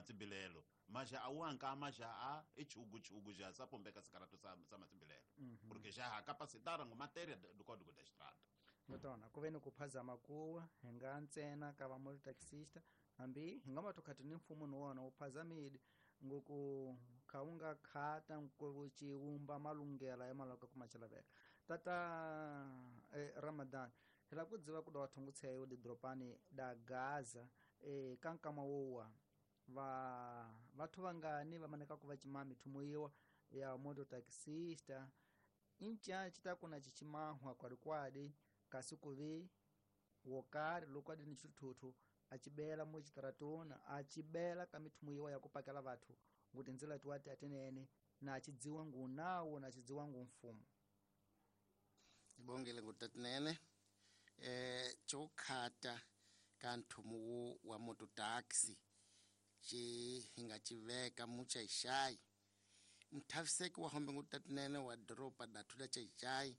matsimbilelo ma já awanka já a echugu já sapombeka sikarato sa matsimbilelo porque já capacitaram matéria do Código da Estrada. Ngotona ku ve ni ku phazama kuwa hi nga ntsena ka va mototaxista hambi hi nga va tokhati ni mfumo ni wona wu phazamile ngoku kha wu nga khata ku ciwumba malunghela ya malaka ku machalaveka tata Ramadan hi lava ku dziva ku da thungutsheyo didropani da Gaza ka nkama wowa va vathu vangani va maneka ku va cima mithumo yiwa ya mototaxista inca cita kuna cicimahwa kwalikwali kasi kuvi wokari loko adi ni xithuthuthu acibela mucitaratona acibela ka mithumo yiwa ya kupakela vathu nguti ndzila tiwati atinene na acidziwa ngu nawo na acidziwa ngu mfumo. Ibongele ngutatinene chokhata ka nthumo wa mototaxi ci hinga civeka muchaixai mthaviseki wa hombe ngutatinene wa doropa dathu la Xai-Xai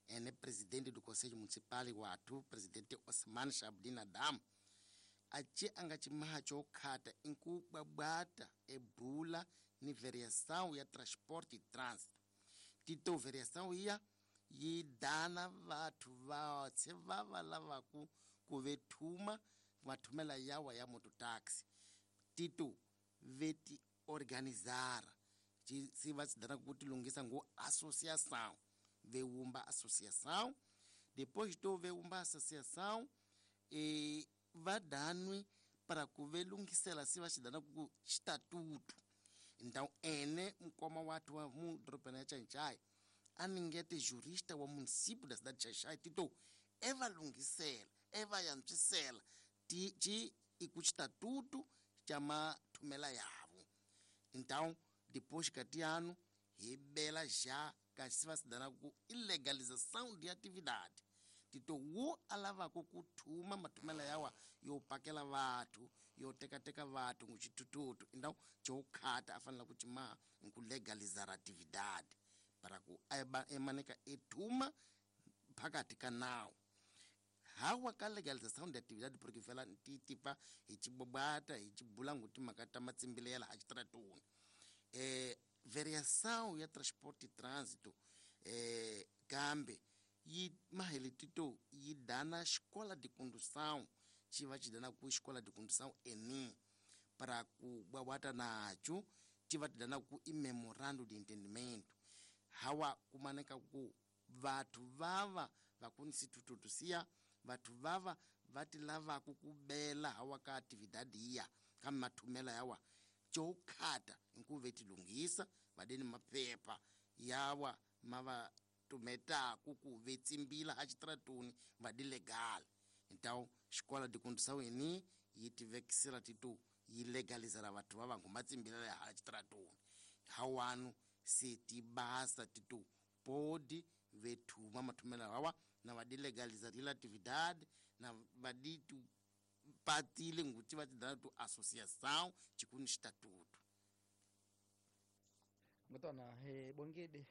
ene presidente do conselho municipal wathu presidente Osman Shabdin Adam aci anga cimaha chokhata inkubwabwata ebula ni variação ya transporte e trânsito tito variação iya yi dana vathu vatse vava lavaku ku vethuma mathumela yawa ya mototaxi tito veti organizara se va se dana ku tilunghisa ngo associação veumba associação depois to veumba associação e vadanwe para ku velungisela se va xi dana ku estatuto. Então ene mukoma wathu wa mu dorobeni ya Xai-Xai aningete jurista wa município da cidade de Xai-Xai tito eva lunghisela eva yantswisela ti iku estatuto cha mathumela yavo. Então depois kati ano rebela já kasi va se dana ku ilegalização de atividade tito wo alavako ku thuma mathumela yawa yo pakela vathu yo tekateka vathu nguxithuthuthu então chokhata afanela ku cimaha nku legalizar atividade para ku emaneka ethuma phakathi ka nawu hawa ka legalização de atividade porque vela ntitipa hi cibobata hi cibula nguti mhaka ta matsimbilela ha xitaratuni variação ya transporte e trânsito kambe yi maheletito yi dana escola de condução ci va ci dana ku escola de condução eni para ku bwabwata nacho ci va ti dana ku i memorando de entendimento hawa kumaneka ku vathu vava vakunisitututu siya vathu vava vati lavaku kubela hawa ka atividade iya ka mathumela yawa chokhata nkuve tilunghisa vadeni maphepha yawa mava tumetaku ku vetsimbila ha xitaratuni vadi legal. Então escola de condução eni yi tivekisela titu yi legalizela vathu va vangu matsimbila ya hala xitaratuni hawanu se tibasa titu podi vethuma mathumela hawa na vadi legalizarila atividade na vadi tu patile nguti va tidana tu associação chikuni estatuto. Ngotona he bongede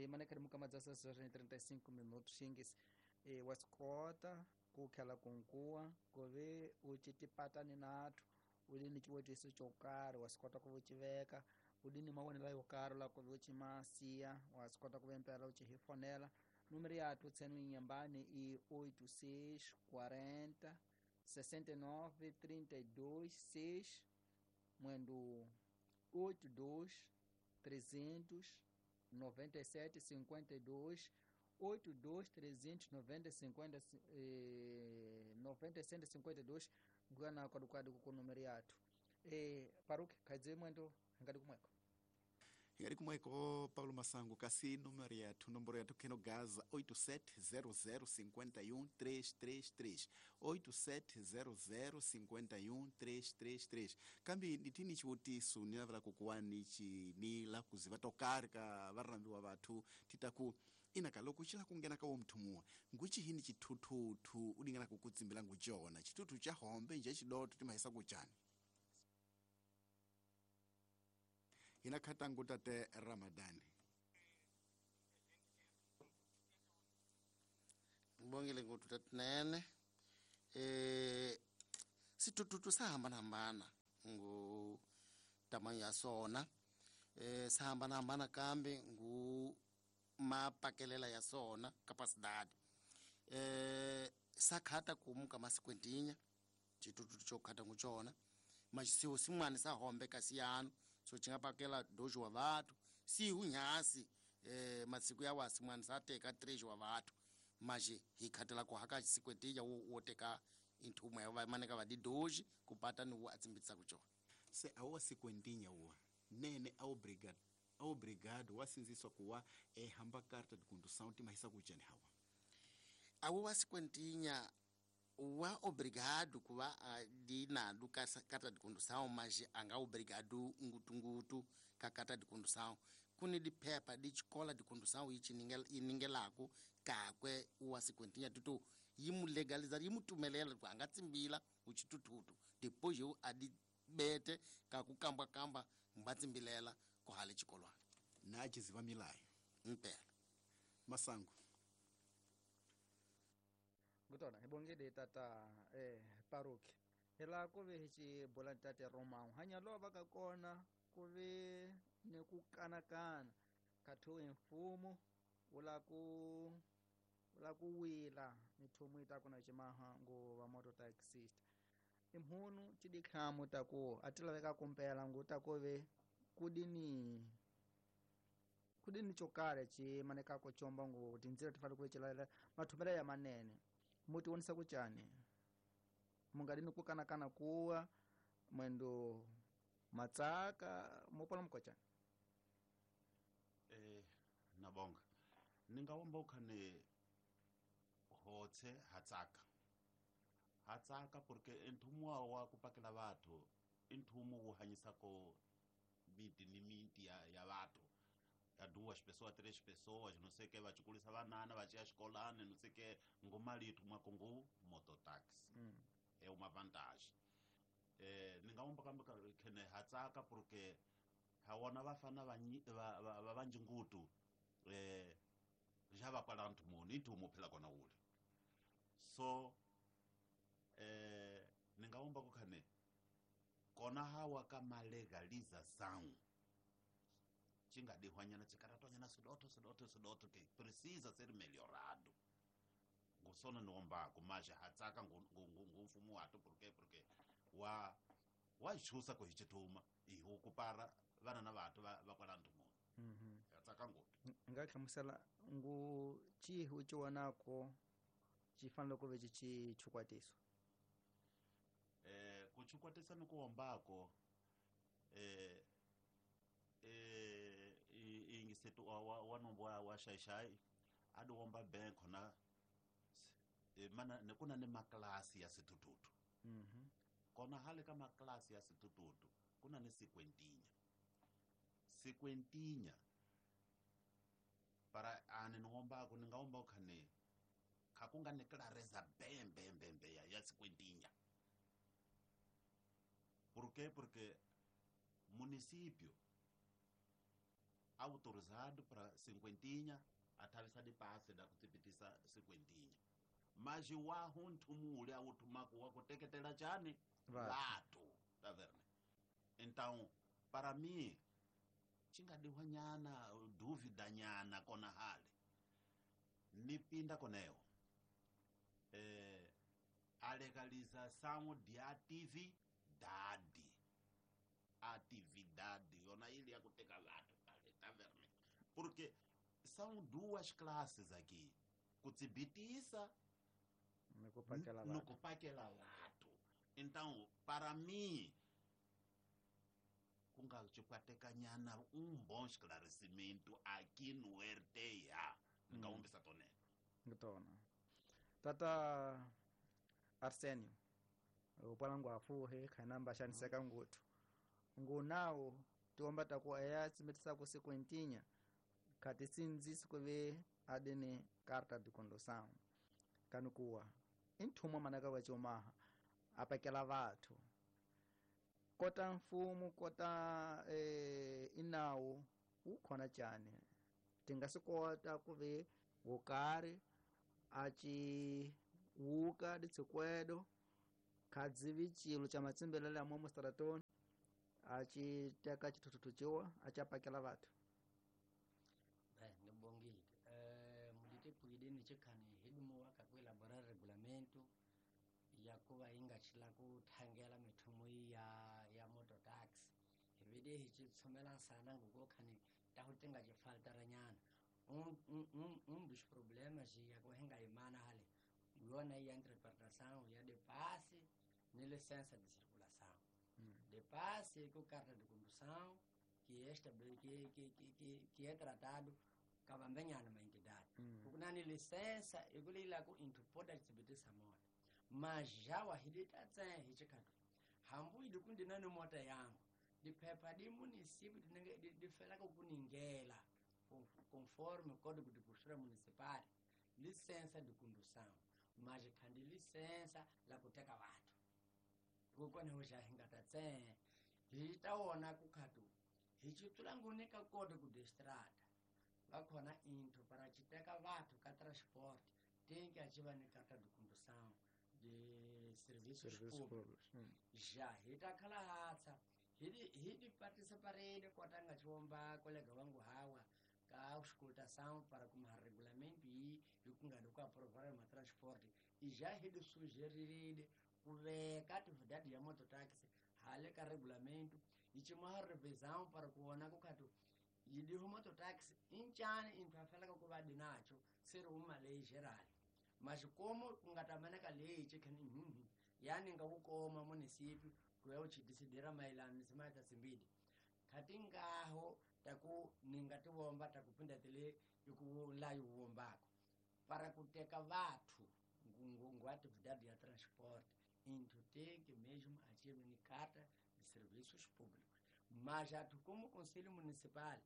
maneka mukama dza 6:35 minutos xingisi wasikota ku khala kunkuwa ku ve u citipatani nathu u li ni ciwetiso xo karhi wa swi kota ku civeka u li ni mavonelo yo karhi la ku ve u cimasiya wa swi kota ku ve mpela u ci hi fonela número yathu tsenu inyambani i 86 40 69 32 6 mwendo 82 300 97 52 82 390 50 97 52 ngana kwadukwadu ku número yathu Paruki kaidze mwendo ngadi kumweko ngadi kumweko Paulo Masango kasi número yathu nomboro yathu keno Gaza 8700 51333 8700 51333 kambi nditini chiwutisu nilavela kukuwani chi ni la kuziva tokari ka varambiwa vathu titaku inaka loko xila kungena ka wo mthumuwa nguchihini chithuthuthu udingana kukutsimbila ngucona chithuthu cha hombe nje chidoto timahisa kuchani hina khatangu tate Ramadani. Ngibongile nguthu tatinene sithuthuthu sahambana hambana Ngu tamanho ya sona sa hambana-hambana kambe ngu mapakelela ya sona capacidade sakhata kumu ka masikwentinya chitututu chokhata nguchona mas siwo simwani sahombe kasiyano so chingapakela dojo wa vathu sihu nyasi masiku ya wasi mwani sateka 3 wa vathu maje hikhatela kuhaka sikwentinya woteka inthumo ya vamaneka vadi doji kupata ni wo atsimbitsa kuchona se awa sikwentinya uwa nene aobrigado wasinziswa kuwa ehamba carta de condução timahisa kuchani hawa awo wasikwentinya wa obrigado kuva dinadu carta de condução mas anga obrigado ngutungutu ka carta de condução kuni diphepha di xikola de condução yi iningelaku kakwe wasikwentinya tutu yi mu legaliza yi mu tumelela ku anga tsimbila uchitututu depois yo adi bete kakukamba-kamba mbatsimbilela kuhale xikolwana na aciziva milayo mpela masango ngutona hi tata paroki hi laha ku ve hi xibula tate Romão hanya lova ka kona ku ve ni ku kanakana khathiwe mfumo wu la ku wila mithumu yi ta ku na ximaha nguva moto taxista imhunu tidikhamu ta ku a ti laveka kumpela ngu ta ku ve kudini chokarhi ci manekako chomba ngu tindzila ti fanele ku ve cilalela mathumela ya manene mu ti vonisa ku cani mungadini ku kanakana kuwa mwendo matsaka mupona mukocani nabonga ningawomba ukhane hotse hatsaka hatsaka porque enthumu wa kupakela vathu inthumu wu hanyisako miti ni miti ya vathu ya duas pessoas três pessoas não sei que vachikulisa vanana vachiya xikolani não sei que ngomali ithumwako ngu mototaxi é uma vantagem ningawomba kambe khene hatsaka porque hawona vafana va vanjingutu ja va kwala nthumuni inthumu phela kona wule so ningawomba ku khane kona hawa ka malegalização cingadihwanyana cikaratwanyana sidotho sidotho sidotho que precisa ser melhorado ngusona niwombako mas hatsaka ngumfumo watu porque wa wachusa ku hi xithuma ihu ku para vana na vathu va kwala nthumuni hatsaka ngopfu nga hlamusela ngu cihi u ci vonako ci fanele ku ve ci ci chukwatiso ku chukwatisa ni ku wombako ingisetu wa nombo wa xaixai a di womba benko na mana kuna ni maklasi ya sitututu kona hale ka maklasi ya sitututu kuna ni sikwentinya sikwentinya para ane ni wombako ni nga womba khane khakunga ni clareza bembe bembe ya sikwentinya. Por quê? Porque município autorizado para cinquentinha atavisa de passe da kutipitisa cinquentinha mas wa hunthumule awuthumako wa kuteketela chani vatu tá vendo? Então para mim chingadihwa nyana dúvida nyana kona hale nipinda koneo a legalização de atividade atividade yona ili ya kuteka vatu pale tá vendo? Porque são duas classes aqui kutsibitisa nokupakela vatu. Então para mim kungachikwateka nyana bom esclarecimento aqui no RTA ngaumbisa tonene ngitona tata Arsenio upala afuhe khanamba xaniseka nguthu ngunawo tiomba taku eya tsimbetisa ku sequentinya khati sindzisi ku ve adene carta de condução kanukuwa i nthumo manaka wa comaha apakela vathu kota mfumo kota inawu wu khona cani tinga swi kota ku ve wokari a ci wuka ditshikwedo Khadzivi cilo cha matsimbelele ya momo stratoni a ci teka chithuthuthu ciwa a ci apakela vathu. Bem, ndibongile. Mudite puidini chikhani hidumu wakakuelaborar regulamento yakuva ingachila kuthangela mithumu ya mototaxi hivide hichitsomela nsana ngokokhani tahutenga chifaltaranyana um dos problemas yakuva hingayimana hale yona iya interpretação ya de passe ni licença de circulação. De passe com carta de condução que esta que é tratado kavambenyana uma entidade. Ukunani licença ikulila ku into poda tsibitisa mota. Mas já wahidita tse hichikatu. Hambu idikundi nani mota yangu. Dipepa di município difela kuningela conforme código de postura municipal licença de condução. Mas kandi licença la kuteka watu. Kukone hoja hingata tse hitaona kukhatu. Hichitula ngunika código de estrada. Vakhona into para chiteka vathu ka transport tem que ativa ni carta de condução de serviços públicos. Já hita khala hatsa hidi participarele kotanga chiomba kolega wangu hawa ka auscultação para como regulamento e kungadi ku aprovar ma transport e já hidi sugerirele kuveka atividade ya mototaxi hale ka regulamento e chima revisão para kuona kukhatu yidiho mototaxi inchani inthu afelaka kuva dinacho seri uma lei geral mas como kungatamaneka lei chikhani yani ngakukoma município kuya uchidisidira maelana nisimata simbidi khati ngaho taku ningatiwomba takupinda tile ikulayi uwombako para kuteka vathu nguatividade ya transporte inthu tem que mesmo ative ni carta de serviços públicos. Mas atu como conselho municipal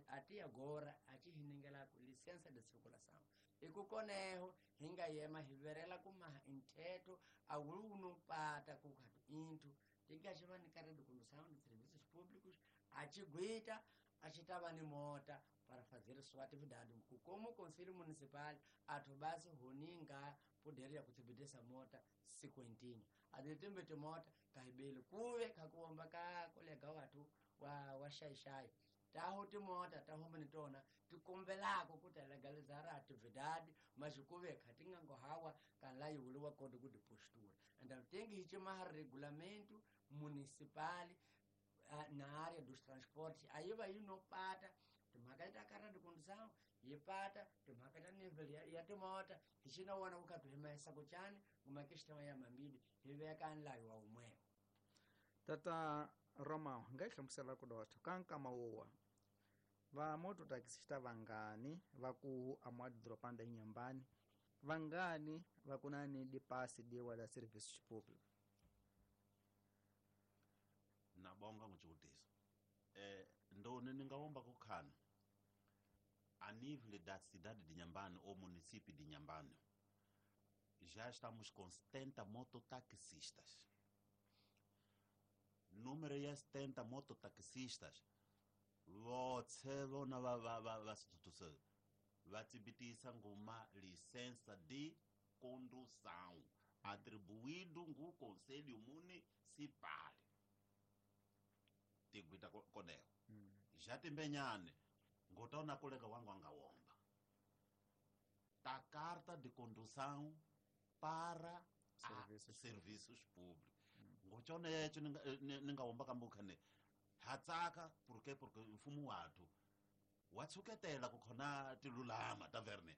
até agora ati hinengela licença de circulação e kukoneho hingayema hiverela kuma intheto awuno pata kukhatu inthu tingaxiva ni carta de condução de serviços públicos achiguita achitava ni mota para fazer sua atividade. Como conselho municipal athu basi huninga poder ya kuthibitisa mota sikwentini aditembete mota kahibele kuve kakuomba ka kolega wathu wa shaishai taho timota taho tona tikombelako kuti legalizar atividade mas kuve khatingango hawa kanla yuliwa código de postura. Então tem que chamar regulamento municipal na área dos transportes. Aí vai no pata timhaka ta carta de condução yi pata timhaka ta nível ya timota hi xina wona ku himesa kuchani kuma questão ya mambili hi veka nlayo wa umwewo. Tata Romão nga yi hlamusela ku dotho ka nkama wowa va mototaxista vangani va ku amadropanda inyambani vangani va ku na ni dipasi diwa la serviços públicos. Nabonga ngochivutiso. Ndoni ningawomba kukhana a nível da cidade de Inhambane ou município de Inhambane já estamos com 70 mototaxistas. Número é 70 mototaxistas. Votse vona va vatsibitisa nguma licença de condução atribuído ngu conselho municipal. Tiguita koneho. Já timbenyane ngotona kolega wangu angawomba ta carta de condução para serviços públicos. Ngochone yecho ningawomba kambukhane hatsaka porque mfumo wathu watsuketela kukhona tilulama taverne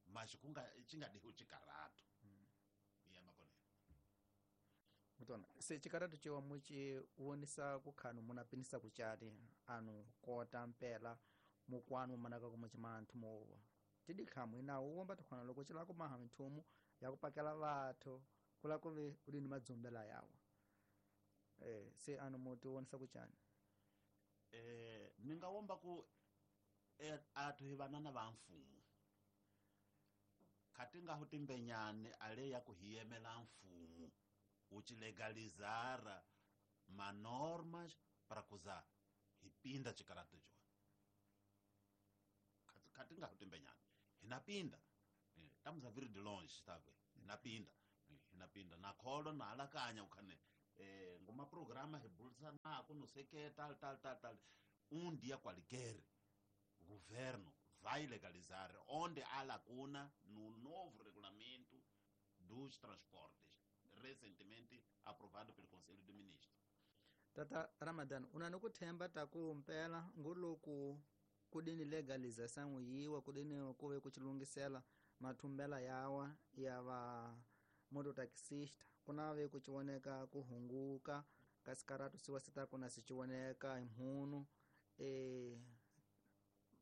mas kunga chingadiho chikarato. Yama koneho. Mutona se chikarato chiwa muchi wonisa kukhanu munapinisa kuchati anu kota mpela mukwanu manaka kumuchimanthu mowa tidikhamu inawo uwomba tikhona loko chilako maha mithumu yakupakela vathu kula kuve uli ni madzumbela yawo. Se anu muti wonisa kuchani. Ningawomba ku athu hi vanana va mfumo khati nga hutimbenyane ale ya ku hiyemela mfumo uchilegalizara manormas para kuza hipinda chikarato cho khati nga hutimbenyane hinapinda estamos a vir de longe sabe hinapinda na pinda na kholo na alakanya ukhane ngoma programa hi bulisanaku no sei que tal tal tal tal um dia qualquer governo vai legalizar onde há lacuna no novo regulamento dos transportes recentemente aprovado pelo Conselho de Ministros. Tata Ramadan, una nokuthemba taku mpela ngoloku kudini legalização yiwa kudini kuve kuchilungisela mathumbela yawa ya va mototaxista kunave kuchioneka kuhunguka kasi karatu siwa sitaku na sichioneka imhunu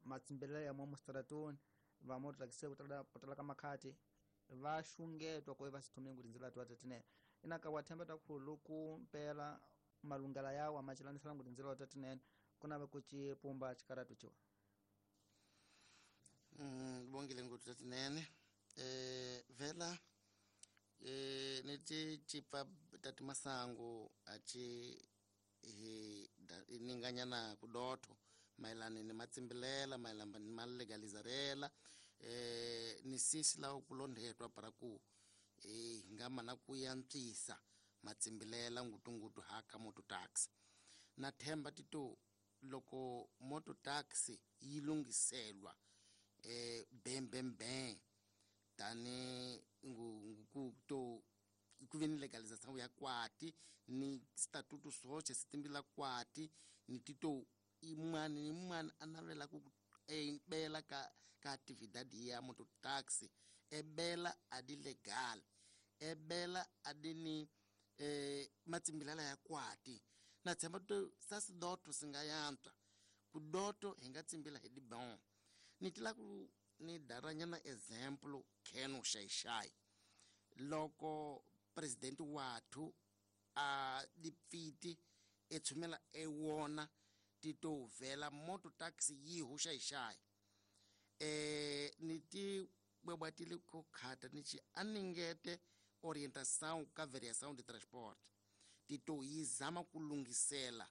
matsimbelelo ya momustaratuni va mototaxista kutala ka makhati va xungetwa ku va sithume ku tindzela tiwa tatinene inaka wa themba takhulu ku mpela malungela yawa macilanisela ku tindzela tatinene kunave kucipumba xikaratu ciwa. Bongile nguthu tatinene vela niti cipa tati masangu aci hi ninganyana kudotho mayelana ni matsimbilela mayelana ni malegalizarela ni sisi lawa kulondhetwa para ku hi nga mana ku yantswisa matsimbilela ngutungutu haka moto taxi na themba tito loko moto taxi yi lunghiselwa bem bem bem tani ngu to ku ve ni legalização ya kwati ni statuto soce sitimbila kwati ni tito imwana ni mwana a navela ku bela ka atividade ya moto taxi ebela adi legal ebela adi ni matsimbilala ya kwati na tshemba to sasidoto singa yantswa ku doto hi nga tsimbila hi dibon ni tila ku ni daranyana example Keno Xaixai loko president wathu a dipfiti e tshumela e wona tito vela moto taxi yi hu Xaixai ni ti bwebwatile ku khata ni ci aningete orientação ka variação de transporte tito yi zama ku lunghisela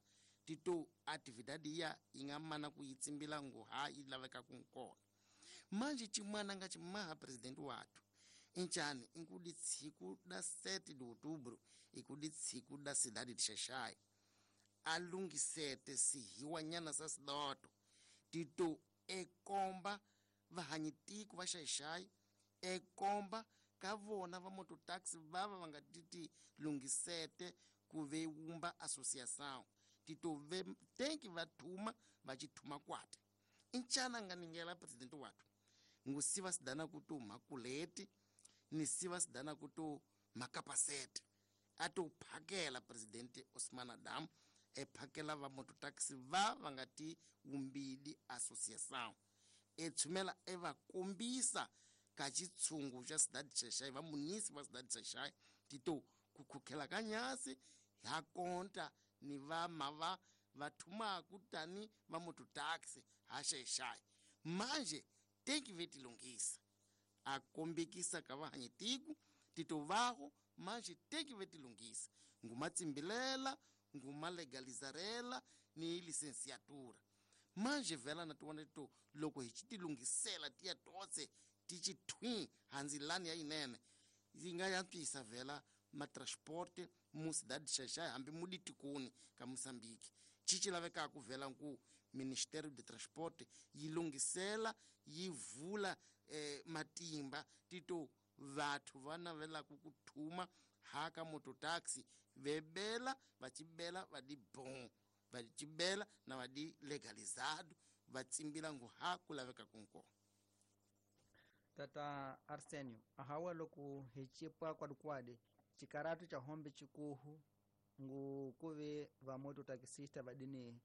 tito atividade ya yi nga mana ku yi tsimbila ngo ha yi laveka ku kona manje xin'wana nga ximaha president wathu injani inkudi tsiku da 7 de outubro ikudi tsiku da cidade de Xaixai a lunghisete sihiwanyana sa sidoto tito ekomba vahanyitiku va Xaixai ekomba ka vona va mototaxi vava va nga titi lunghisete ku ve wumba associação tito ve tenki va thuma va xithuma kwati inchana nga ningela president wathu ngusiva sidana ku to makuleti ni siva sidana ku to makapasete a to phakela president Osman Adam e phakela va mototaxi va va nga ti wumbili associação e tshumela e va kombisa ka xitshungu xa cidade Xaixai va munisi va cidade Xaixai tito ku khukhela ka nyasi ha konta ni va mava va thumaku tani va mototaxi ha Xaixai manje tenki ve tilunghisa a kombekisa ka vahanyitiku tito vaho manje tenki ve tilunghisa ngumatsimbilela ngumalegalizarela ni licenciatura manje vela na tiwona tito loko hi tilunghisela tiya tose ti xithwi handzilani ya yinene yi nga yantswisa vela matransporte mu cidade Xaixai hambi muditikoni ka Moçambique xi lavekaka vela ku Ministério de Transporte yi lunghisela yi vula matimba tito vathu va navelaka ku thuma haka mototaxi vebela va cibela va di bon va cibela na va di legalizado va tsimbila ngu ha ku laveka kunkona. Tata Arsenio ahawa loko hi cipa kwadikwadi xikaratu xa hombe xikuhu ngu kuve va mototaxista va dini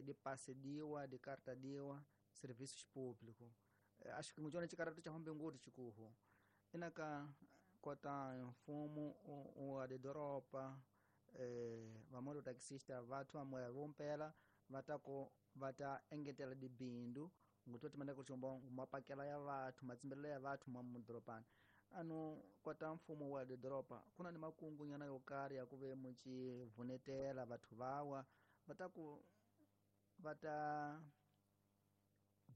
dipase diwa dikarta diwa serviços público acho que ngucona xikaratu xa hombe ngoti xikuhu inaka kota mfumo wa didoropa va mototaxista va moya vompela va ta ko va ta engetela dibindu ngutoti manda kuchomba mapakela ya vathu matsimbelelo ya vathu mwa mudorobani anu kota mfumo wa didoropa kuna ni makungu nyana yo karhi ya ku ve mucivunetela vathu vawa va ta ku va ta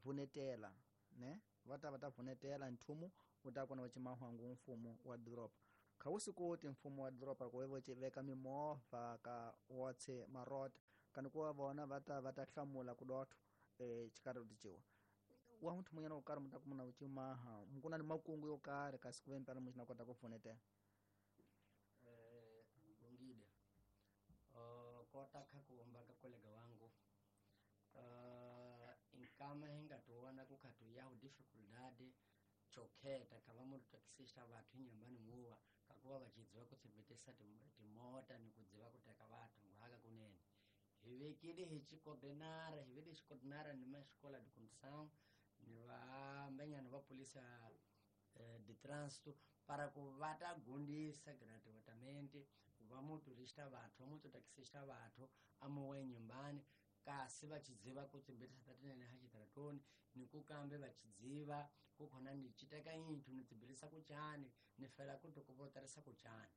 vunetela ne va ta vunetela nthumu wu ta kona va cimahwangu mfumo wa doroba Kha wu swi koti mfumo wa doroba ku vo veka mimovha ka wotse marota kani ku va vona va ta hlamula ku dotho xikarhi ticewa wa muthu munyana wo karhi mu ta kumuna wu cimaha mukuna ni makungu yo karhi kasi ku ve mpela muxi na kota ku pfunetela. Bongile. Kota kha kuomba ka kolega wangu, inkama hingatuona kukhatu yahu dificuldade chokheta kava mutu taxista vathu inyambani muwa kakuva vachidziva kutsibetesa timota ni kudziva kuteka vathu nguhaka kunene hivekile hichicoordenara, hivile chicoordenara ni maxikola de condução ni vambenyana va polícia de trânsito para ku va ta gundisa gratuitamente va motorista vathu, va mototaxista vathu amuwe nyumbani kasi vachidziva kutsimbetisa tatinene ha xitaratoni ni kukambe vachidziva kukhona ni citeka inthu ni tsimbelisa kuchani ni fela ku tokovotarisa kuchani.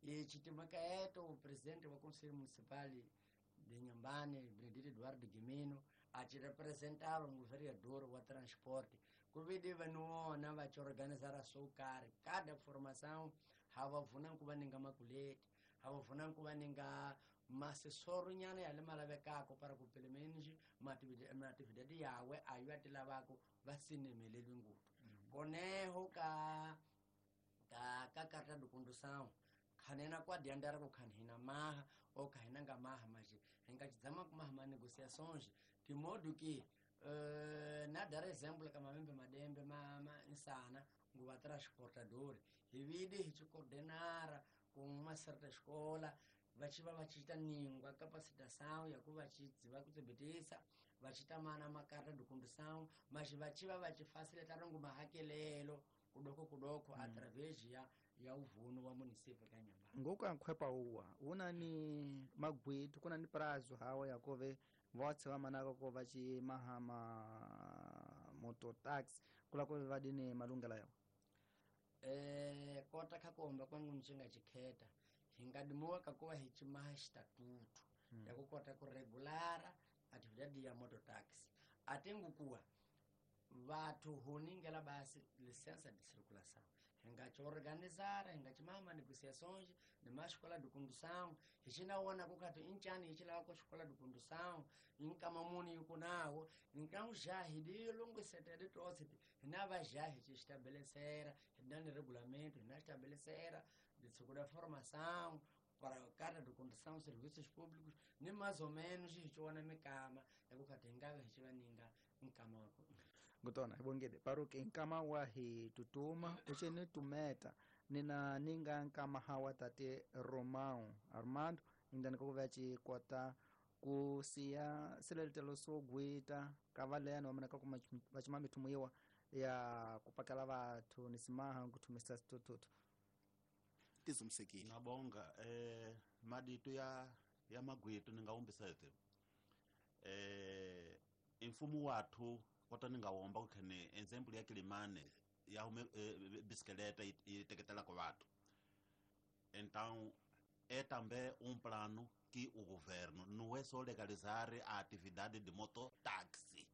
Ichitimaka eto o presidente wa conselho municipal de Inhambane, Benedito Eduardo Guimino, achirepresentava um vereador wa transporte kuvidi vanuona vachiorganizara swo karhi kada formação havavuna ku va ninga makuleti, havavuna ku va ninga masesoro nyana ya le malavekako para ku pelo menos maatividade yawe ayo a ti lavako va sinemeleli ngopfu koneho ka carta de condução khanena kwa diandara ku khani hina maha ou khahina nga maha maje hinga chidzama ku maha ma negociações de modo que na dar exemplo ka mamembe madembe ma insana nguva transportador hivide hichicoordenara com uma certa escola vachiva vachiita ningwa capacitação ya ku vachidziva kutsebetisa vachita mana macarta de condução, mas vachiva vachifacilitar ngo mahakelelo kudoko kudoko através ya uvuno wa município ka Inhambane. Ngoku ankhwepa uwa una ni magwitu kuna ni prazo hawa yakove votse vamanaka ko vachimaha ma mototaxi kula kuve vadini malungela yawo. Kota kha kuomba kwangu nichinga chikheta hingadimuwa kakuva hichimaha xitatutu ya ku kota ku regulara atividade ya mototaxi atingukuwa vathu huningela basi licença de circulação hingachiorganizara, hingachimaha manegociações ni maxikola de condução hichinawona kukhati inchani hichilava ku xikola de condução inkama muni yuku nawo então já hidilungusetele tose hina va já hichixitabelecera hina ni regulamento hina xitabelesera de da formação para carta de condução serviços públicos ni mais ou menos hichiwona mikama yakukhati hingave hichiva ninga nkama wa Ngutona ibongede paruke nkama wa hi tutuma ucheni tumeta nina ninga nkama hawa tate Romão Armando indani kokuva chikwata kusiya silelitelo sogwita kavaleno wameneka vachima mithumuiwa ya kupakela vathu nisimaha nkuthumisa sitututu. Tizumsekile. Nabonga madito ya magwitu ningawumbisa ete imfumo wathu kota ningawomba kukhene example ya Kilimane ya hume bisikeleta iteketela ko vathu. Então é também um plano que o governo não é só legalizar a atividade de mototáxi.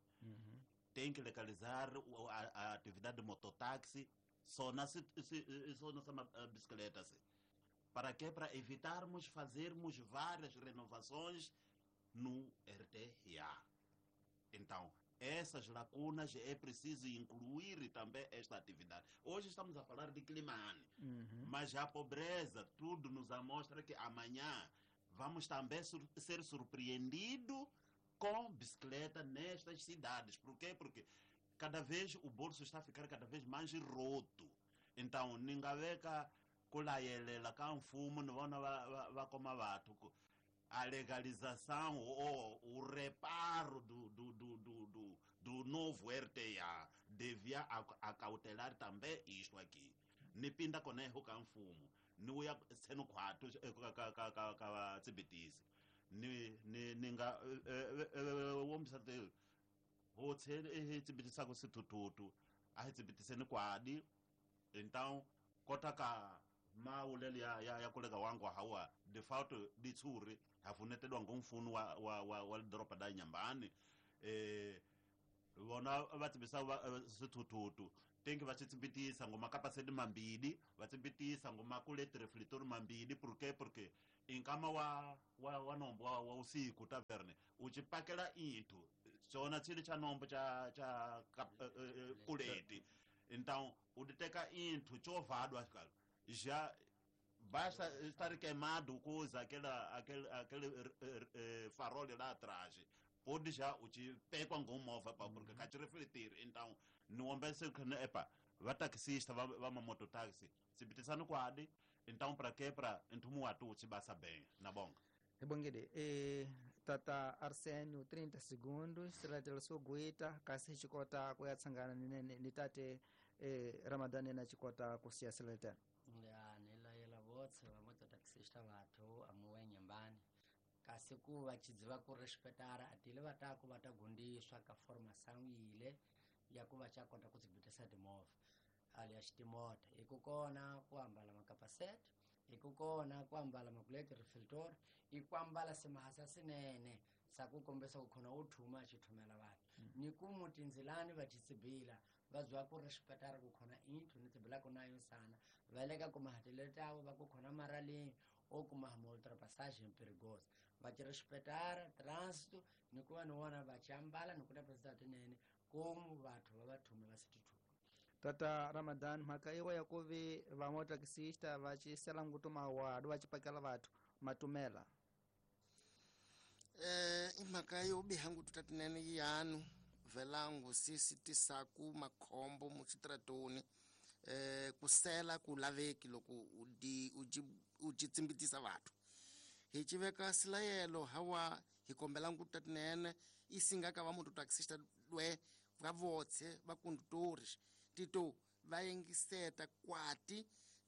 Tem que legalizar a atividade de mototáxi só na só nessa bicicleta assim. Para quê? Para evitarmos fazermos várias renovações no RTA. Então, essas lacunas é preciso incluir também esta atividade. Hoje estamos a falar de Quilimane, mas a pobreza, tudo nos mostra que amanhã vamos também ser surpreendidos com bicicleta nestas cidades. Por quê? Porque cada vez o bolso está a ficar cada vez mais roto. Então, ningaveka kulayelela ka mfumo ni vona va koma vathu ku a legalização ou o reparo do novo RTA devia acautelar também isto aqui. Ni pinda conejo ka mfumo ni uya seno khwatu ka tsibitisi ni nga wombisa te hotse hi tsibitisako swithuthuthu a hi tsibitiseni kwadi. Então kota ka maulele ya kolega wangu hawa de fato ditsuri hafunetedwa ngomfuno wa lidoropa da Inhambane vona va tsibisa swithuthuthu Tenki va tsimbitisa ngoma kapasedi mambili, va tsimbitisa ngoma kuleti reflector mambili, porque inkama wa nombo wa usiku taverne uchipakela inthu chona chili cha nombo cha kuleti. Então uditeka inthu chovadwa já basta estar queimado coisa aquele farol lá atrás pode já uchipekwa ngomova pa porque ka refletir. Então niwombese khane epa va taxista va mamototaxi tsibitisani kwadi. Então para que para nthumu watu uchibasa bem na bonga. Ibongede tata Arsenio 30 segundos silatela soguita kasi chikota kuyatsangana ni tate Ramadhani na chikota kusiya silatela. Ya nilayela votse va mototaxista vathu amuwe nyambani kasi ku va chidziva ku respetara atile va ta ku va ta gundiswa ka formação yile ya ku va cha kota ku tsibitisa timovha alias timota ikukona ku ambala makapasete, ikukona ku ambala makuleti reflector, ikwambala simahasa sinene sakukombesa kukhona uthuma achithumela vanhu ni ku mutinzilani va titsibila va zwa ku respetara kukhona inthu ni tsibilaka nayo sana va le ka kumahatele tavo va ku khona maraleni o kuma ma ultrapassagem perigosa va ti respetara trânsito ni ku va ni vona va chambala ni ku ta tinene komu vathu va va thume va sitithuka. Tata Ramadan mhaka iwa ya kuvi va motaxista va chisela ngutu mawadu va chipakela vathu matumela. Imhaka yo biha ngutu tatinene yanu velangu sisi tisaku makhombo muxitratoni kusela ku laveki loko uji tsimbitisa vathu hi chiveka silayelo hawa hi kombela ngutu tatinene isinga ka va mototaxista lwe va votse va conductores tito va yengiseta kwati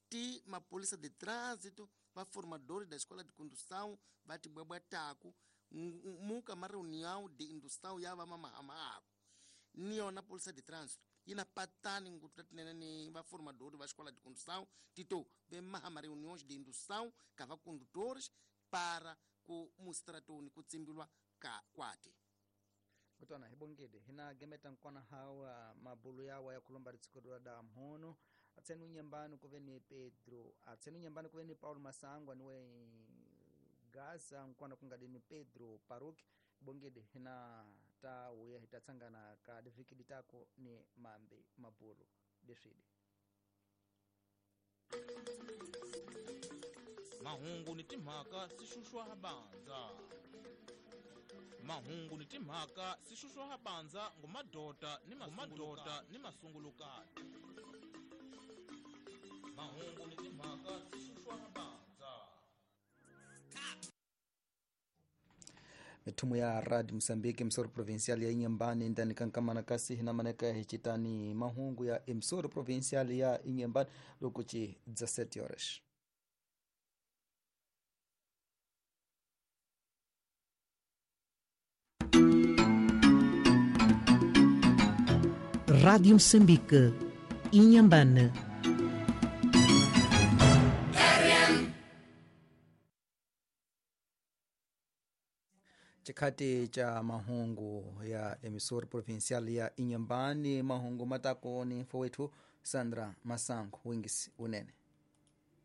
ti mapolisa de trânsito va formadores da escola de condução va tibwebwetaku muka ma reunião de indução ya va mamahamaku ni yona polícia de trânsito yina patani ngutu tatinene ni va formadores va escola de condução tito ve maha ma reuniões de indução ka va condutores para ku mustratoni ku tsimbilwa ka kwati. Kutona hibongede hina gemeta nkona hawa mabulu yawa ya kulomba ritsikudwa da mhono atsenu nyambani kuve ni Pedro atsenu nyambani kuve ni Paulo Masangwa niwe Gaza nkwana kungadini Pedro Paruki bongede hina ta uya hitatsangana ka diviki ditako ni mambe mabulu deswidi. Mahungu ni timhaka sishushwa banza. Mahungu ni timhaka sishushwa banza ngumadota ni mamadota ni masungulukati. Mahungu ni timhaka sishushwa banza. Mitumu ya Radio Msambiki Msoro Provincial ya Inhambane ndani kankamana kasi hinamaneka hichitani mahungu ya Msoro Provincial ya Inhambane lokuchi 17 horas. Rádio Moçambique, Inhambane. Chikati cha mahungu ya emissora provincial ya Inhambane, mahungu matako ni mfowethu Sandra Masango wingisi unene.